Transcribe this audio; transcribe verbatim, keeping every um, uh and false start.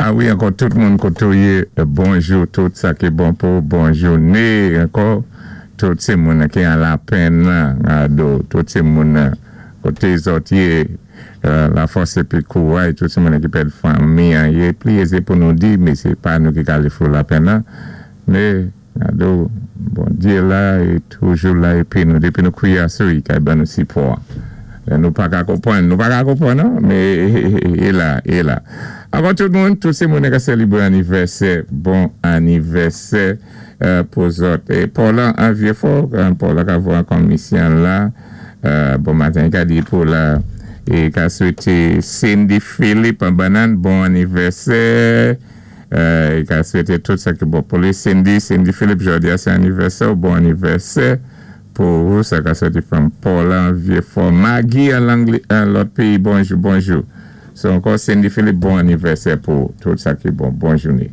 A wi, ankò tout moun koté ou yé, bonjou, tout sa ki bon pou bon jouné, ankò, tout sé moun ki an lapenn, ado, tout sé moun koté zòt yé, lafòs épi kouway, tout sé moun ki pèd fanmi, yé pli ézé pou nou di, mé sé pa nou ki ka alé fè lapenn nan, mé, ado, Bondyé la, é toujou la, épi nou, dépi nou kwiyé asou, i kay ban nou sipò. Nou pa ka konpwann, nou pa ka konpwann, non? Mé, i la, i la. Ankò tout moun, tout sé moun ka sélébwé anivèsè, bon anivèsè pou zòt. É Paula an Vieux-Fort, Paula ka voyé komisyon la, bon maten ka di pou la, é ka swété Cindy Philippe an Bannann, bon anivèsè, é ka swété tout sa ki bon pou li. Cindy, Cindy Philippe, jòdi a sé anivèsè, bon anivèsè, pou ou, sa ka sòti from Paula an Vieux-Fort. Maggie an lòt péyi, bonjou, bonjou. So ankò Cindy Philippe, bon anivèsè pou tout sa ki bon. Bon jouné.